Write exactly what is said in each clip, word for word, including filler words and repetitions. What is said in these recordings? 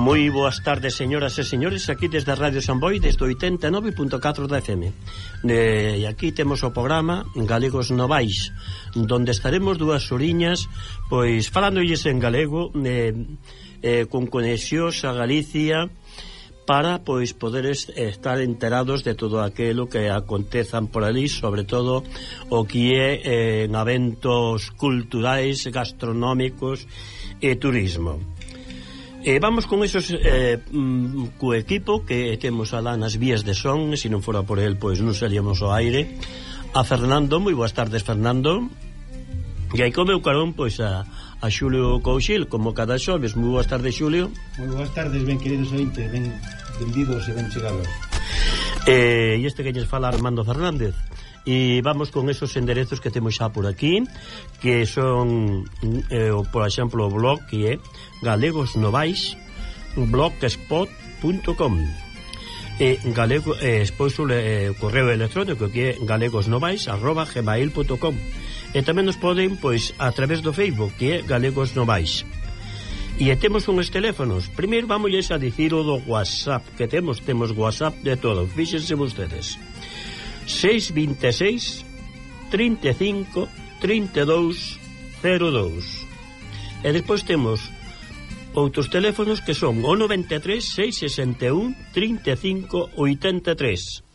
Moi boas tardes, señoras e señores, aquí desde Radio Samboy, desde oitenta e nove punto catro da F M. E aquí temos o programa Galegos Novais, donde estaremos dúas horiñas, pois, falándolles en galego, eh, eh, con conexións a Galicia, para, pois, poderes estar enterados de todo aquilo que acontezan por ali, sobre todo o que é eh, en eventos culturais, gastronómicos e turismo. E vamos con esos eh, mm, co equipo que temos alá nas vías de son, e se non fora por el, pois non salíamos ao aire. A Fernando, moi boas tardes, Fernando. E aí co meu carón, pois a, a Xulio Couchil, como cada xoves. Moi boas tardes, Xulio. Moi boas tardes, ben queridos ointes, ben benvidos e ben chegados. E este que lles fala Armando Fernández. E vamos con esos enderezos que temos xa por aquí, que son, eh, por exemplo, o blog que é Galegos Novais blogspot punto com, e galego, eh, despois o eh, correo electrónico que é galegosnovais arroba gmail punto com, e tamén nos poden, pois, a través do Facebook que é Galegos Novais. E temos uns teléfonos. Primeiro vamos a dicir o do WhatsApp que temos, temos WhatsApp de todo, fíxense vostedes, seis vinte e seis trinta e cinco trinta e dous cero dous. E despois temos outros teléfonos que son o noventa e tres seis sesenta e un trinta e cinco oitenta e tres,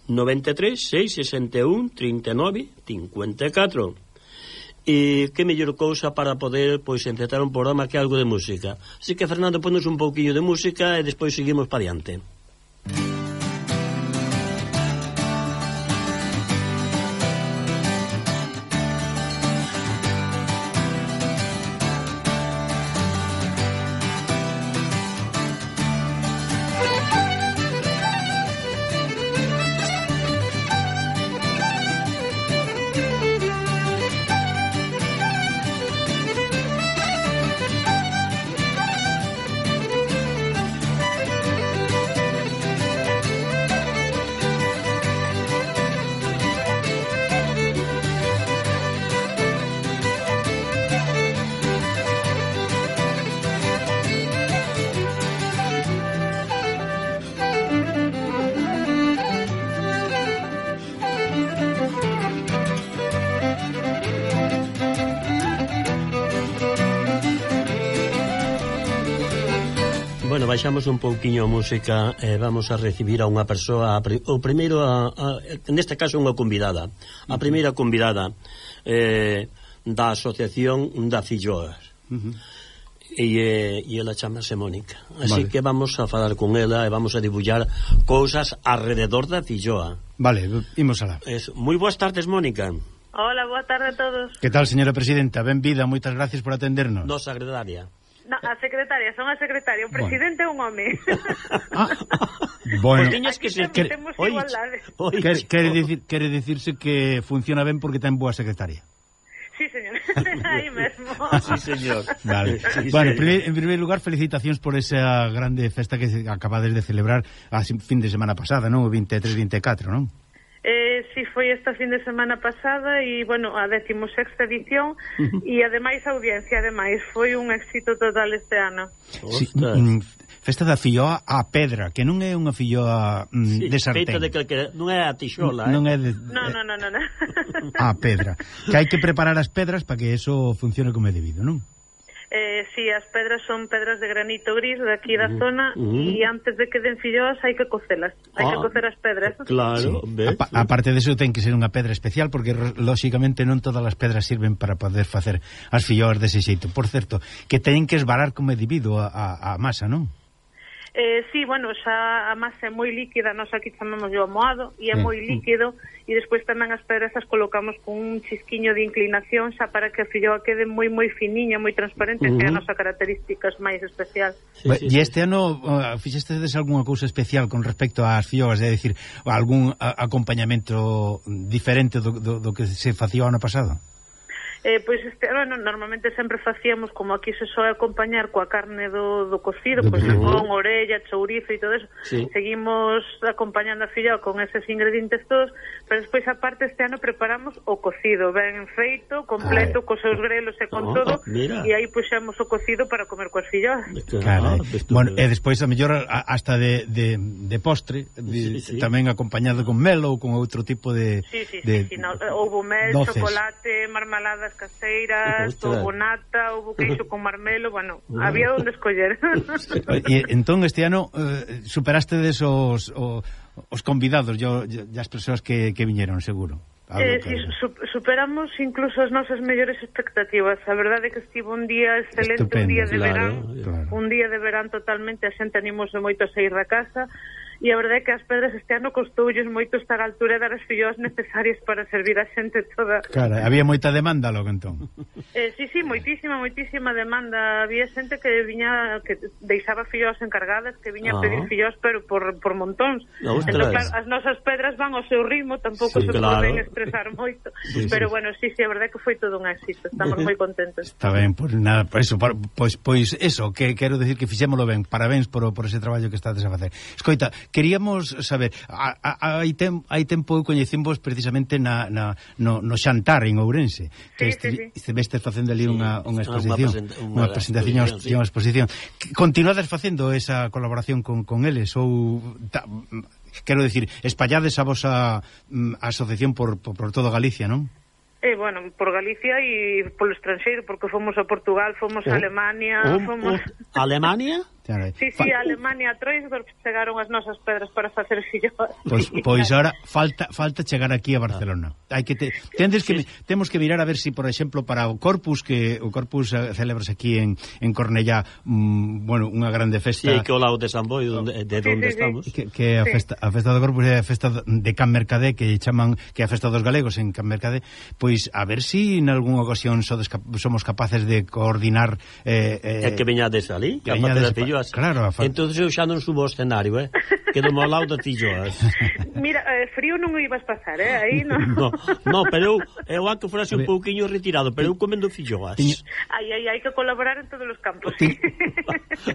noventa e tres seis sesenta e un trinta e nove cincuenta e catro. E que mellor cousa para poder, pois, encetar un programa que algo de música. Así que, Fernando, ponos un pouquinho de música e despois seguimos para diante. Bueno, baixamos un pouquiño a música e eh, vamos a recibir a unha persoa, a, o primeiro, a, a, neste caso unha convidada, a primeira convidada eh, da Asociación da Filloas. Uh -huh. E, e ela chamase Mónica. Así vale. Que vamos a falar con ela e vamos a dibullar cousas alrededor da filloa. Vale, imos alá. Es, moi boas tardes, Mónica. Hola, boa tarde a todos. Que tal, señora presidenta? Benvida, moitas gracias por atendernos. Nos secretaria. No, a secretaria, son a secretaria, o presidente é bueno. Un home. Ah, bueno. Pues que se que temos oye, igualdade. Oye, quere, quere, dicir, quere dicirse que funciona ben porque ten boa secretaria. Sí, señor. Aí mesmo. Sí, señor. Vale. Sí, bueno, señor. en primer lugar, felicitacións por esa grande festa que acabades de celebrar a fin de semana pasada, non? O vinte e tres vinte e catro, non? Eh, si, foi esta fin de semana pasada e, bueno, a decimosexta edición e, ademais, a audiencia, ademais, foi un éxito total este ano. Sí, mm, festa da filloa a pedra, que non é unha filloa mm, sí, de sartén. De que, que non é a tixola, non eh? é de, no, no, no, no, no. A pedra. Que hai que preparar as pedras para que eso funcione como é debido, non? Eh, si, as pedras son pedras de granito gris de aquí da uh -huh. zona e uh -huh. antes de que den filloas hai que cocelas, hai ah, que cocer as pedras. Claro, sí. A, aparte de eso ten que ser unha pedra especial porque lóxicamente non todas as pedras sirven para poder facer as filloas dese xeito. Por certo, que teñen que esbarar como é debido a, a, a masa, non? Eh, sí, bueno, xa a masa é moi líquida, nós aquí chamamos o amoado e é moi líquido e despois tamén as pedras as colocamos con un chisquiño de inclinación xa para que a filloa quede moi moi finiña, moi transparente, uh -huh. que é a nosa característica máis especial. Sí, sí, e este sí. ano uh, fixestedes algunha cousa especial con respecto ás filloas, é dicir, algún a, acompañamento diferente do, do, do que se facía o ano pasado? Eh, pois este, bueno, normalmente sempre facíamos, como aquí se soe acompañar coa carne do, do cocido, pois con orella, chourizo e todo eso, sí. Seguimos acompañando a fillao con eses ingredientes todos, pero despois aparte este ano preparamos o cocido, ben feito, completo, Ay. cos seus grelos e con oh, todo, mira. E aí puxemos o cocido para comer coas filloas. Claro, bueno, e despois a mellor hasta de, de, de postre, de, sí, sí. tamén acompañado con mel ou con outro tipo de... Sí, sí, de, sí, sí no, houve mel, doces. Chocolate, marmaladas caseiras, houve nata, houve queixo con marmelo, bueno, uh. había onde escoller. E entón este ano eh, superaste des os, os, os convidados, yo, yo, as persoas que, que viñeron, seguro. Eh, si, su, superamos incluso as nosas mellores expectativas. A verdade é que estivo un día excelente, Estupendo, un día de claro, verán, claro. un día de verán totalmente, a xente animouse moito a sair da casa. E a verdade é que as pedras este ano costoulles moito estar a altura e dar as filloas necesarias para servir a xente toda. Claro, había moita demanda logo entón. Eh, sí, sí, moitísima, moitísima demanda. Había xente que viña, que deixaba filloas encargadas, que viña ah. a pedir filloas, pero por, por montóns. No, entón, claro, as nosas pedras van ao seu ritmo, tampouco sí, se claro. poden estresar moito. Sí, pero sí. bueno, sí, sí, a verdade é que foi todo un éxito. Estamos moi contentos. Está ben, pois pues, nada, por eso, por, pois, pois eso, que quero decir que fixémolo ben. Parabéns por, por ese traballo que estades a facer. Escoita, queríamos saber, a, a, hai, tem, hai tempo eu coñecimos precisamente na, na, no, no xantar en Ourense, que sí, sí, sí. estivestes facendo ali sí, unha, unha exposición, unha, unha presentación, sí. unha exposición. Continuades facendo esa colaboración con, con eles ou ta, quero decir, espallades a vosa um, asociación por, por, por todo Galicia, non? Eh, bueno, por Galicia e polo estranxeiro, porque fomos a Portugal, fomos oh. a Alemania, oh, fomos... Oh. Alemania? Sí, sí, a Alemania, a Troisdorf chegaron as nosas pedras para facer filloas. Pois, pois ahora falta falta chegar aquí a Barcelona. Hai que te, tendes que sí. temos que mirar a ver si, por exemplo, para o Corpus, que o Corpus uh, celebras aquí en en Cornellá, um, bueno, unha grande festa. Sí, que o lado de San Boi, donde de onde sí, sí, estamos. Que, que a festa a festa do Corpus é a festa de Can Mercadé, que chaman que é a festa dos galegos en Can Mercadé, pois a ver si en algunha ocasión sodes, somos capaces de coordinar eh, eh, é que veñades ali, que a facer as filloas. Claro, a entonces eu xa non subo ao escenario, eh? Quedo ao lado das filloas. Mira, eh, frío non o ibas pasar, eh? Aí non. No, no, pero eu, eu anque forase un pouquiño retirado, pero eu comendo filloas. Ai, ai, hai que colaborar en todos os campos. Ti,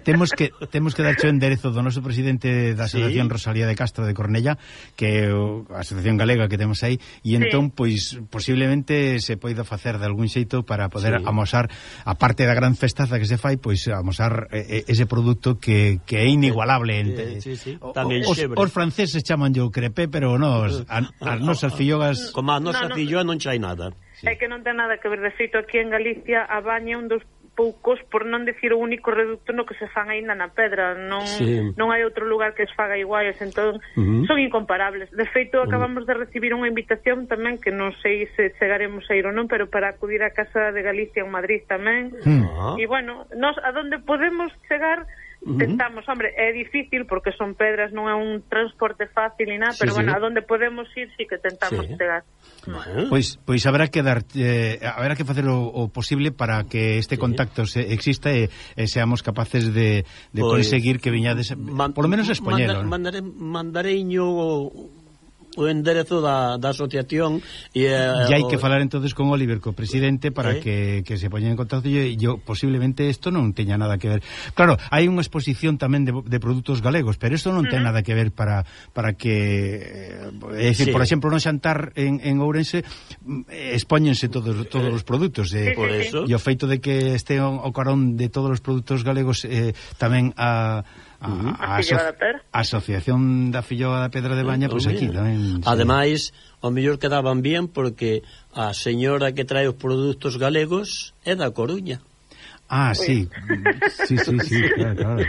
temos que temos que darche o enderezo do noso presidente da Asociación sí. Rosalía de Castro de Cornellá, que é a asociación galega que temos aí, e entón, sí. pois, posiblemente se poida facer de algún xeito para poder sí. amosar, a parte da gran festaza que se fai, pois amosar eh, ese produto que Que, que é inigualable entre, sí, sí, sí. O, os, os franceses chaman yo crepé, pero nos, a, as nosas fillogas como a nosa no, no, filloa non chai nada sí. É que non ten nada que ver, de feito aquí en Galicia a baña un dos poucos, por non decir o único reducto no que se fan aínda na pedra, non sí. non hai outro lugar que se faga iguais, entón uh-huh. son incomparables. De feito, acabamos uh-huh. de recibir unha invitación tamén, que non sei se chegaremos a ir ou non, pero para acudir á Casa de Galicia en Madrid tamén. Uh-huh. E bueno, nos a donde podemos chegar tentamos, uh-huh. hombre, é difícil porque son pedras, non é un transporte fácil ni nada, sí, pero sí. bueno, a donde podemos ir sí que tentamos sí. chegar. Uh-huh. Pois pois haberá que dar eh, haberá que facer o, o posible para que este sí. contacto se, exista e, e seamos capaces de, de pues, conseguir que viñades man, por lo menos expoñelo. Mandare, mandareiño o enderezo da, da asociación e uh, hai que falar entonces con Oliver, co presidente, para eh? que, que se poñen en contacto e yo posiblemente isto non teña nada que ver. Claro, hai unha exposición tamén de, de produtos galegos, pero isto non ten nada que ver para para que é dicir, sí. por exemplo, no xantar en, en Ourense expóñense todos todos os produtos e, por eso. E o feito de que este o, o carón de todos os produtos galegos eh, tamén a A, a, a, aso a Asociación da Filloa da Pedra de Baña, pois pues aquí tamén. Ademais, ao mellor quedaban bien porque a señora que trae os produtos galegos é da Coruña. Ah, sí. Sí, sí, sí, claro, claro.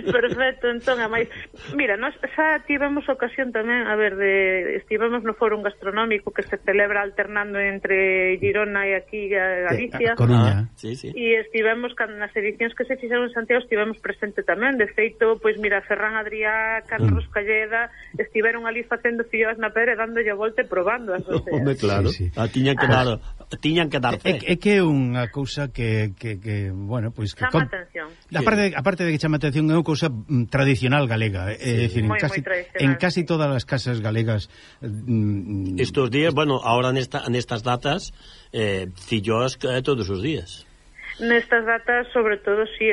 Perfecto, entón, a máis, mira, nós xa tivemos ocasión tamén, a ver, de estivemos no fórum gastronómico que se celebra alternando entre Girona e aquí a Galicia. Eh, a Coruña. Ah, sí, sí. E estivemos nas edicións que se fixeron en Santiago, estivemos presente tamén. De feito, pois mira, Ferran Adrià, Carlos mm. Calleda, estiveron ali facendo filloas na pedra e dándolle a volta e probando as oseas. Hombre, claro. Sí, sí. Ah, tiñan que dar, tiñan que dar fe. É, é que é unha cousa que, que, que bueno, pois pues, que chama atención. Aparte de, aparte de que chama atención, é unha cousa mm, tradicional galega, é sí. decir, en Muy, casi, muy en casi todas as casas galegas mm, estos días, bueno, ahora nesta, nestas datas eh, filloas eh, todos os días. Nestas datas, sobre todo, sí,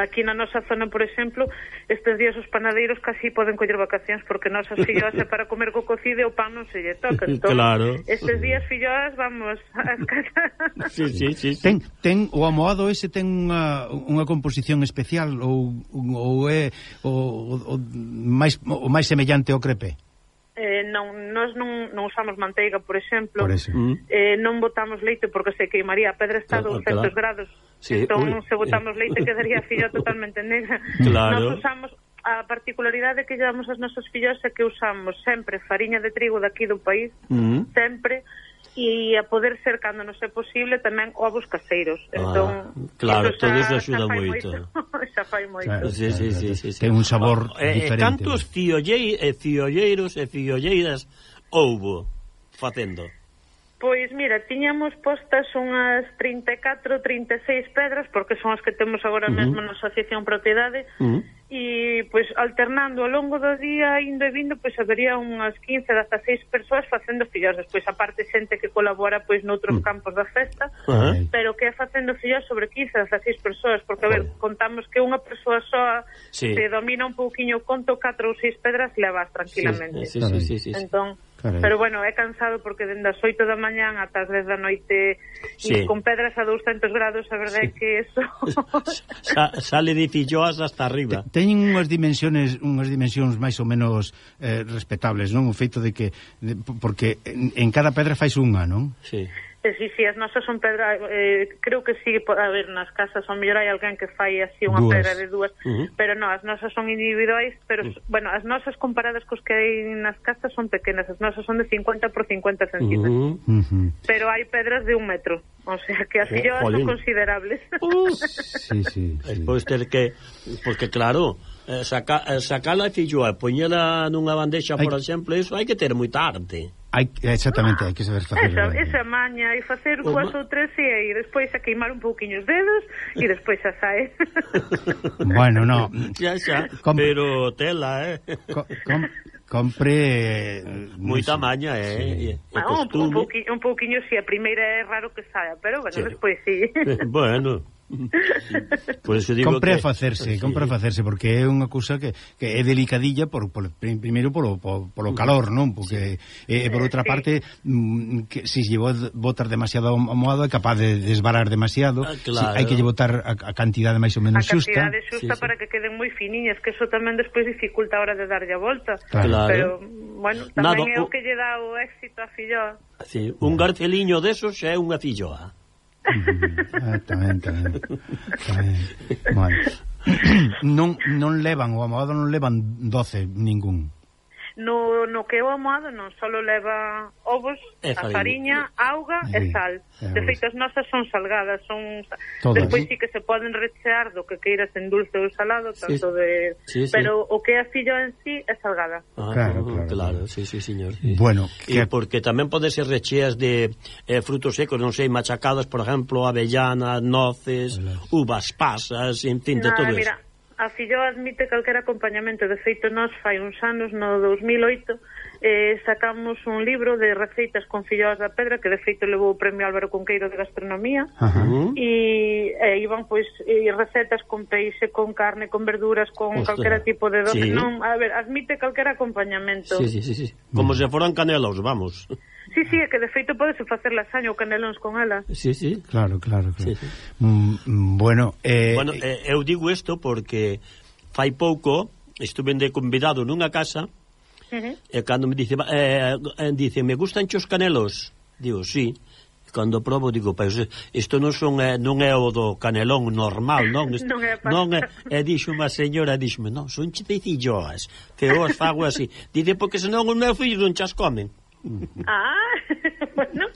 aquí na nosa zona, por exemplo, estes días os panadeiros casi poden coller vacacións porque nosas filloas é para comer co cocido e o pan non se lle toca. Entón, claro. Estes días filloas vamos ás casas. Sí, sí, sí, sí. Ten, ten o amoado ese ten unha, unha composición especial ou, ou é o, o, máis, o máis semellante ao crepe? Eh, non, nós non, non usamos manteiga, por exemplo. Por eso. eh, non botamos leite porque se queimaría, a pedra está a douscentos grados. Sí. Entón, Uy. se botamos leite quedaría a filla totalmente negra. Claro. Nós usamos, a particularidade que llevamos as nosas fillas é que usamos sempre fariña de trigo daqui do país, mm. sempre, e a poder ser, cando non é posible, tamén ovos caseiros. Entón, ah, claro, eso todo eso axuda moito. Xa fai moito. Claro, sí, sí, sí, sí, sí. Ten un sabor eh, diferente. Cantos fiollei, eh, fiolleiros e fiolleiras houbo facendo? Pois mira, tiñamos postas unhas trinta e catro, trinta e seis pedras, porque son as que temos agora uh -huh. mesmo na Asociación Propiedade, uh -huh. e pois alternando ao longo do día, indo e vindo, pois habería unhas quince, dezaseis persoas facendo fillos, despois a parte xente que colabora pois noutros uh -huh. campos da festa, uh -huh. pero que é facendo fillos sobre quince, dezaseis persoas, porque a ver, contamos que unha persoa soa sí. se domina un pouquiño o conto, catro ou seis pedras levas tranquilamente. Sí, sí, sí, sí, sí, sí. Entón, carai. Pero bueno, é cansado porque dende as oito da mañán ata as dez da noite sí. e con pedras a douscentos grados, a verdade é sí. que eso Sa sale de filloas hasta arriba. Teñen unhas dimensiones, unhas dimensións máis ou menos eh, respetables, non? O feito de que de, porque en, en cada pedra fais unha, non? Sí. Eh, sí, sí, as nosas son pedra, eh, creo que sí, a ver, nas casas ao mellor hai alguén que fai así unha dúas. pedra de dúas, uh -huh. pero non, as nosas son individuais, pero, uh -huh. bueno, as nosas comparadas cos que hai nas casas son pequenas, as nosas son de cincuenta por cincuenta centímetros, uh -huh. pero hai pedras de un metro, o sea, que as filloas oh, son considerables. Uh. Sí, sí, sí. Pois ter que, porque claro, eh, saca, eh, sacala a filloa e poñela nunha bandexa, por hai... exemplo, iso hai que ter moita arte. Hai, exactamente, hai que saber facer. Esa, esa maña, e facer cuas ou tres e aí despois a queimar un pouquiño os dedos e despois xa sae. Bueno, no. Xa, xa, Com... pero tela, eh. Com... Com... Compre moita maña, eh, sí. e, e ah, un, un pouquiño, un pouquiño si, sí, a primeira é raro que saia, pero bueno, sí. despois si. Sí. Bueno. Por eso digo compre que... a facerse, sí. compre a facerse porque é unha cousa que, que é delicadilla por, por primeiro polo, por, polo calor, non? Porque sí. eh, por outra sí. parte mm, que se si lle botar demasiado amoado é capaz de desbarar demasiado. Ah, claro. Si, hai que lle botar a, a cantidade máis ou menos xusta. A cantidade xusta sí, para sí. que queden moi finiñas, que eso tamén despois dificulta a hora de darlle a volta. Claro. Pero bueno, tamén Nada, é o que lle dá o éxito a filloa. Sí, un garceliño desos xa é unha filloa. Ah, tamén, tamén, tamén. Bueno. non, non levan, o amoado non levan doce ningún. No, no que é o amoado non, só leva ovos, e a fariña, auga e, e sal. E de feito, as nosas son salgadas, son todas. Despois sí que se poden rechear do que queiras en dulce ou salado, tanto sí. de sí, sí. pero o que é a fillo en sí é salgada. Ah, claro, claro, claro, sí, sí, señor. Sí. Bueno, que... e porque tamén pode ser recheas de eh, frutos secos, non sei, machacadas, por exemplo, avellanas, noces, uvas pasas, en fin, de Nada, todo mira, eso. A filloa admite calquera acompañamento. De feito, nós fai uns anos, no dous mil oito, eh, sacamos un libro de receitas con filloas da pedra, que de feito levou o premio Álvaro Cunqueiro de Gastronomía, uh-huh. e eh, iban pois eh, recetas con peixe, con carne, con verduras, con Ostras. calquera tipo de doce. Sí. Non, a ver, admite calquera acompañamento. Sí, sí, sí, sí. Como mm. se foran canelos, vamos. Sí, sí, é que de feito podese facer lasaña ou canelóns con ela. Sí, sí. Claro, claro, claro. Sí, sí. Mm, bueno, eh... Bueno, eh, eu digo isto porque fai pouco estuve de convidado nunha casa uh-huh. e cando me dice, eh, dice, me gustan os canelos? Digo, sí. Cando probo, digo, pois, isto non son eh, non é o do canelón normal, non? Isto, non é, non é, e dixo unha señora, dixome, non, son chipecilloas, que os fago así. Dice, porque senón os meus fillos non chas comen. Ah, bueno,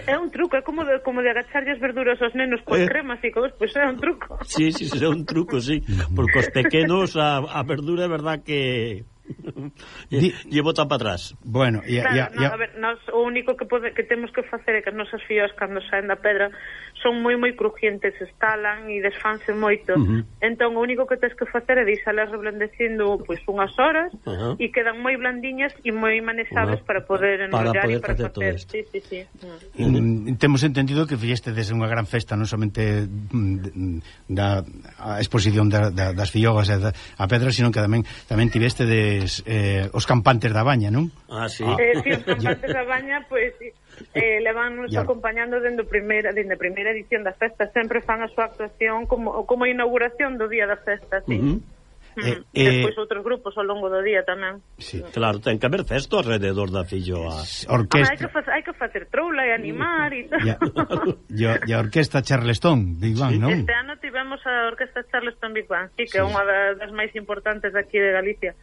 é un truco, é como de, como de agacharlle as verduras aos nenos con eh. crema, así, pois pues é un truco. Sí, sí, é un truco, sí, porque os pequenos a, a verdura é verdad que lle, lle botan para atrás. Bueno, e claro, no, a ver, nos, o único que pode, que temos que facer é que as nosas fillas cando saen da pedra son moi moi crujientes, estalan e desfanse moito. Uh -huh. Entón o único que tens que facer é deixalas reblandecindo pois unhas horas uh -huh. e quedan moi blandiñas e moi manexables uh -huh. para poder enrollar e para facer. facer. Sí, sí, sí. Uh -huh. mm, temos entendido que fixeste desde unha gran festa non somente da a exposición da, da, das fillogas e da a pedra, sino que tamén tamén tiveste des, eh, os campantes da baña, non? Ah, sí. Ah. Eh, sí, os campantes da baña, pois pues, eh, levannos acompañando dende a primeira, dende a primeira edición da festa, sempre fan a súa actuación como como a inauguración do día da festa, sí. Uh -huh. Eh, eh, despois outros grupos ao longo do día tamén. Sí, claro, ten que haber festo alrededor da filloa. Orquesta. Ah, hai que facer, hai que facer troula e animar e tal. E a orquesta Charleston Big Bang, non? Este ano tivemos a orquesta Charleston Big Bang, sí, que é sí. unha das máis importantes aquí de Galicia.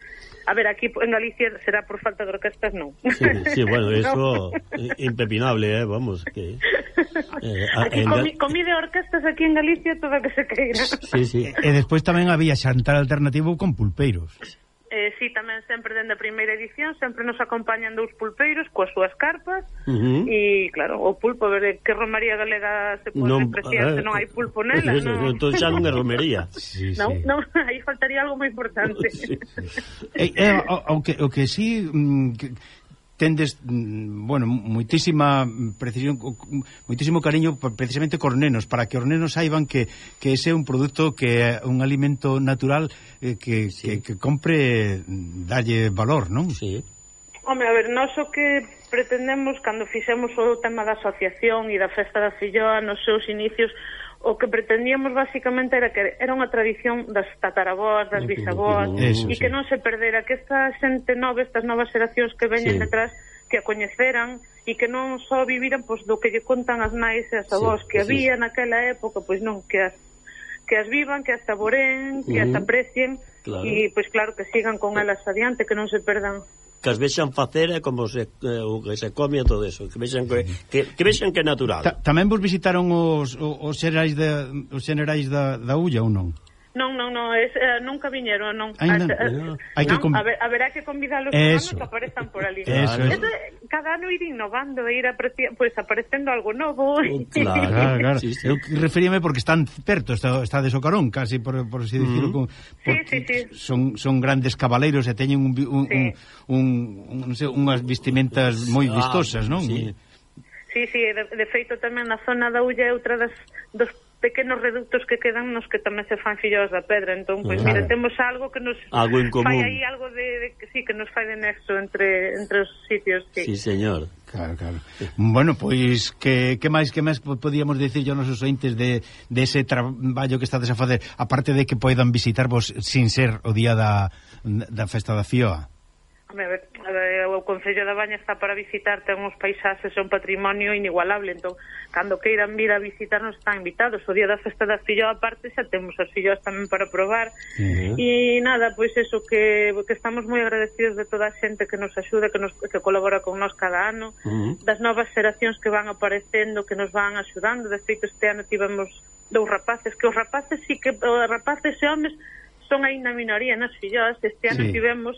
A ver, aquí en Galicia será por falta de orquestas, non. Sí, sí, bueno, eso no. Impepinable, eh, vamos, que eh, aquí en comi, comí de orquestas aquí en Galicia todo que se queira. Sí, sí. E despois tamén había xantar alternativo con pulpeiros. Eh, sí, tamén sempre dende a primeira edición sempre nos acompañan dous pulpeiros coas súas carpas e, uh -huh. claro, o pulpo, a ver, que romaría galega se pode non, despreciar se non hai pulpo nela, non? Entón xa non é romería. Sí, non, sí. non, aí faltaría algo moi importante. Sí. eh, eh, o, o, que, o que sí... Mm, que, tendes, bueno, moitísima precisión, moitísimo cariño precisamente cos nenos, para que os nenos saiban que, que ese é un produto que é un alimento natural eh, que, sí. que, que compre dalle valor, non? Sí. Home, a ver, nós o que pretendemos cando fixemos o tema da asociación e da festa da filloa nos seus inicios, o que pretendíamos basicamente era que era unha tradición das tataraboas, das bisaboas, Eso, e que sí. non se perdera, que esta xente nova, estas novas xeracións que veñen sí. detrás, que a coñeceran e que non só viviran pois, do que lle contan as nais e as avós sí, que había sí. naquela época, pois non, que as, que as vivan, que as saboreen, que uh -huh. as aprecien claro. e pois claro que sigan con elas adiante, que non se perdan. Que as vexan facer e como se, eh, o que se come e todo eso, que vexan que, que, que vexan que é natural. Ta, tamén vos visitaron os, os xerais da, os xerais da, da Ulla ou non? Non, non, non, es, uh, nunca viñeron, non. Ainda, Hasta, uh, hai que non, a ver, haberá que convidalos os que aparezan por ali. Eso, eso. Eso, cada ano ir innovando, ir apreci pues, aparecendo algo novo. Oh, claro, claro, claro. Sí, sí. Eu referíame porque están perto, está, está de Socarón, casi por, por así decirlo. Mm. Con, sí, sí, sí. Son, son grandes cabaleiros e teñen un, un, sí. un, un, un, non sei, unhas vestimentas moi vistosas, non? Sí, sí, sí de, de feito tamén na zona da Ulla é outra das dos pequenos reductos que quedan nos que tamén se fan filloas da pedra, entón, pois, pues, mira, temos algo que nos algo en común. Fai aí algo de, de que sí, que nos fai de nexo entre, entre os sitios, sí. Sí, señor. Claro, claro. Bueno, pois, que, que máis que máis podíamos dicir aos nosos ointes de, de ese traballo que estades a facer, aparte de que poidan visitarvos sin ser o día da, da festa da Fioa? A ver, a ver, o Concello da Baña está para visitar, ten uns paisaxes, é un patrimonio inigualable, entón, cando queiran vir a visitarnos están invitados. O día da festa da filloa aparte xa temos as filloas tamén para probar. Uh -huh. E nada, pois eso, que, que estamos moi agradecidos de toda a xente que nos axuda, que, nos, que colabora con nós cada ano, uh -huh. das novas xeracións que van aparecendo, que nos van axudando. De feito, este ano tivemos dous rapaces, que os rapaces sí que, os rapaces e homes son aínda minoría nas filloas. Este ano sí. tivemos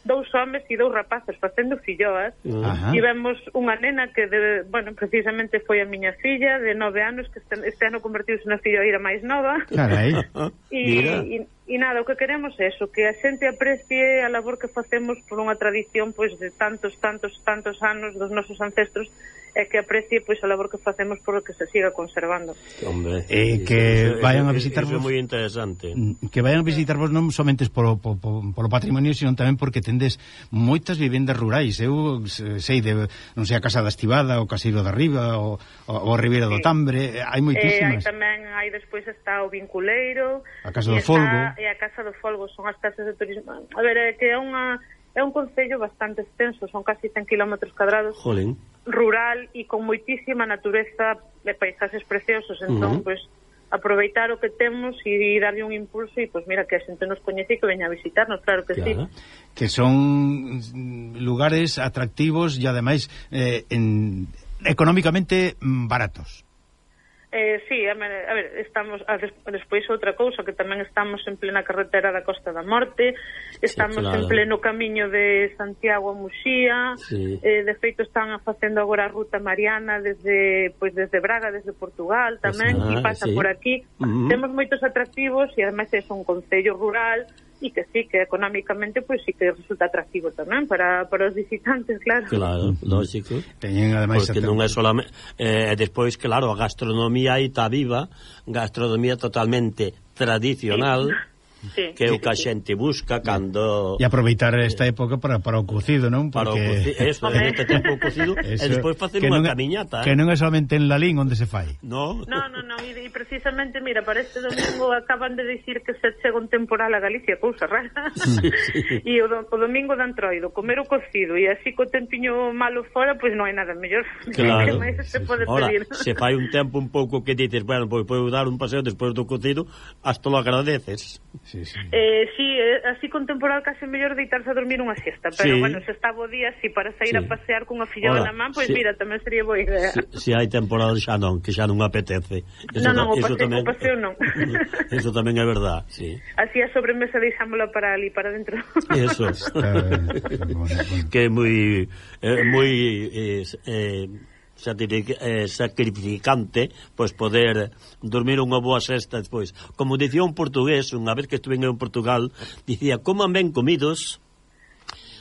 dous homes e dous rapaces facendo filloas. Uh-huh. E vemos unha nena que, de, bueno, precisamente foi a miña filla de nove anos, que este, este ano convertiuse na filloeira máis nova. Carai. E, e, e nada, o que queremos é eso, que a xente aprecie a labor que facemos por unha tradición pois de tantos, tantos, tantos anos dos nosos ancestros, e que aprecie pois a labor que facemos por que se siga conservando. Hombre, eh, que eso, vayan a visitarvos. Eso é moi interesante. Que vayan a visitarvos non somente por, por, por, por o patrimonio, sino tamén porque tendes moitas vivendas rurais. Eu sei de, non sei, a Casa da Estivada, o Caseiro da Riba, o, o, o Ribeira do Tambre, hai moitísimas. Eh, hai tamén, hai despois está o Vinculeiro, a Casa do Folgo. E a Casa do Folgo, son as casas de turismo. A ver, é que é unha é un concello bastante extenso, son casi cen kilómetros cadrados. Jolín. Rural e con moitísima natureza de paisaxes preciosos, entón, uh -huh. pois, aproveitar o que temos e darlle un impulso e, pois, mira, que a xente nos coñece e que veña a visitarnos, claro que claro. sí. Que son lugares atractivos e, ademais, eh, en, económicamente baratos. Eh, sí, a ver, a ver estamos a des, despois outra cousa que tamén estamos en plena carretera da Costa da Morte, estamos sí, claro. en pleno camiño de Santiago a Muxía, sí. eh, de feito están facendo agora a ruta mariana desde pois desde Braga, desde Portugal tamén, pues, ah, e pasa sí. por aquí. Uh-huh. Temos moitos atractivos e ademais é un concello rural e que sí, que económicamente pois pues, sí que resulta atractivo tamén para, para os visitantes, claro. Claro, lógico. Teñen ademais porque non é solamente eh, despois, claro, a gastronomía aí está viva, gastronomía totalmente tradicional. Sí. Sí, que é o que a xente busca cando... E aproveitar esta época para, para o cocido, non? Porque... Para o cocido, eso, en este tempo o cocido e despois facer unha camiñata. Que non é solamente en Lalín onde se fai. No, no, no, no e, e precisamente, mira, para este domingo acaban de dicir que se chega un temporal a Galicia, cousa rara. Sí, sí. E o, o domingo de Antroido, comer o cocido e así co tempiño malo fora, pois non hai nada mellor. Claro. Que máis se pode Ahora, pedir. Se fai un tempo un pouco que dices, bueno, pois podo dar un paseo despois do cocido, hasta lo agradeces. Sí, sí. Eh, sí, así con temporal case mellor deitarse a dormir unha siesta, pero sí. bueno, se está bo día, si para sair sí. a pasear cunha filloa na man, pois pues, sí. mira, tamén sería boa idea. Si, si hai temporal xa non, que xa non apetece. Eso non, non, o paseo, tamén, o paseo non. Eso tamén é verdad, sí. Así a sobremesa deixámola para ali, para dentro. Eso. Que é moi eh, moi eh, eh, sacrificante pois poder dormir unha boa sesta despois. Como dicía un portugués, unha vez que estuve en Portugal, dicía, coman ben comidos,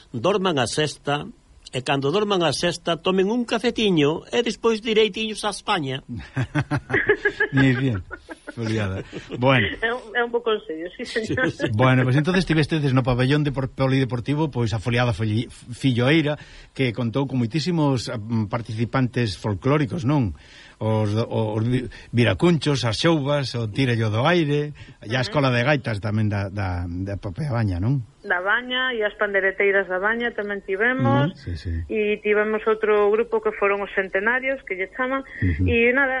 dorman a sesta, e cando dorman a sesta tomen un cafetiño e despois direitiños a España. Muy bien, foliada. Bueno, é un, é un bo consello, sí, señor. Sí, sí. Bueno, pues entonces estivestedes no pabellón de polideportivo, pois a foliada Filloeira, que contou con moitísimos participantes folclóricos, non? Os, os viracunchos, as xouvas, o tirallo do aire, e a escola de gaitas tamén da, da, da Popea Baña, non? Da Baña e as pandereteiras da Baña tamén tivemos, uh-huh, sí, sí. E tivemos outro grupo que foron os centenarios, que lle chaman, uh-huh. E nada,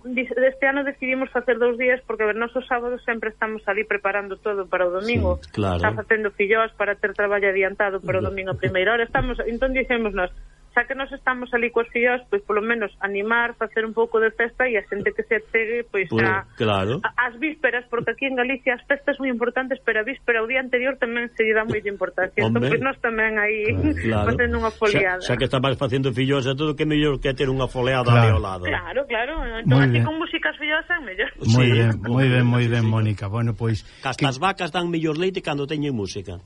este ano decidimos facer dous días porque, a ver, nosos sábados sempre estamos ali preparando todo para o domingo, sí, claro. Está facendo filloas para ter traballo adiantado para o domingo a primeira hora, estamos, entón dicemos nós, xa que nos estamos ali coas filloas, pois polo menos animar, facer un pouco de festa e a xente que se chegue, pois pues, a, claro. a, as vísperas, porque aquí en Galicia as festas moi importantes, pero a víspera, o día anterior tamén se lle dá moita importancia. Entón, pois nós tamén aí claro. facendo unha foliada. Xa, xa que estabas facendo filloas e todo, que mellor que ter unha foliada claro. ali ao lado. Claro, claro. Entón, así con músicas filloas é mellor. Moi sí. ben, moi ben, moi ben, Mónica. Bueno, pois... Que as vacas dan mellor leite cando teñen música.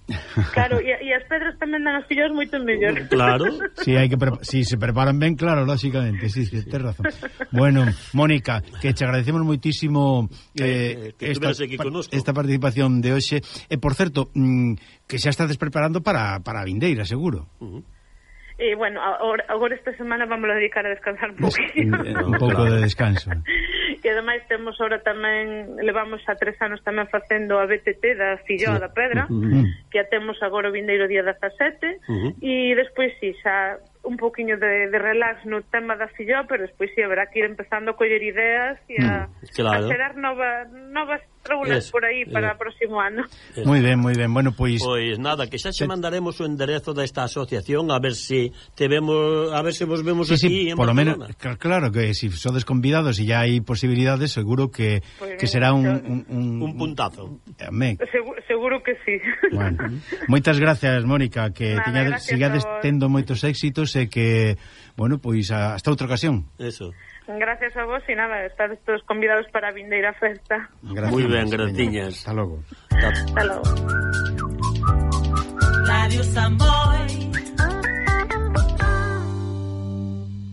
Claro, e, e as pedras tamén dan as filloas moito mellor. Claro. Si, sí, hai que si se preparan ben, claro, lógicamente, sí, sí, tens razón. Bueno, Mónica, que te agradecemos moitísimo eh, que, que esta, esta participación de hoxe. E, por certo, mm, que xa estades preparando para, para a vindeira, seguro. Uh-huh. E, bueno, agora, agora esta semana vamos a dedicar a descansar un poquinho. Un pouco de descanso. E ademais temos ahora tamén, levamos a tres anos tamén facendo a B T T da Filloa sí. da Pedra, uh-huh. que a temos agora o vindeiro día dezasete, uh-huh. e despois si, sí, xa un poquinho de, de relax no tema da filloa, pero despois si sí, haberá que ir empezando a coller ideas e a, mm, claro. a xerar nova, novas troulas por aí para o próximo ano. Moi ben, moi ben. Bueno, pois Pois nada, que xa se mandaremos o enderezo desta asociación a ver se si te vemos, a ver se vos vemos sí, aquí sí, en por lo Barcelona. Menos, claro que si sodes convidados e ya hai posibilidades, seguro que, pues que será un, un, un, un puntazo. Seguro, seguro que sí. Bueno, moitas gracias, Mónica, que tiña, sigades tendo moitos éxitos e que, bueno, pois hasta outra ocasión. Eso. Gracias a vos e nada, estades todos convidados para a vindeira festa. Moi ben, gratiñas. Hasta logo. Hasta logo. Radio Sambo.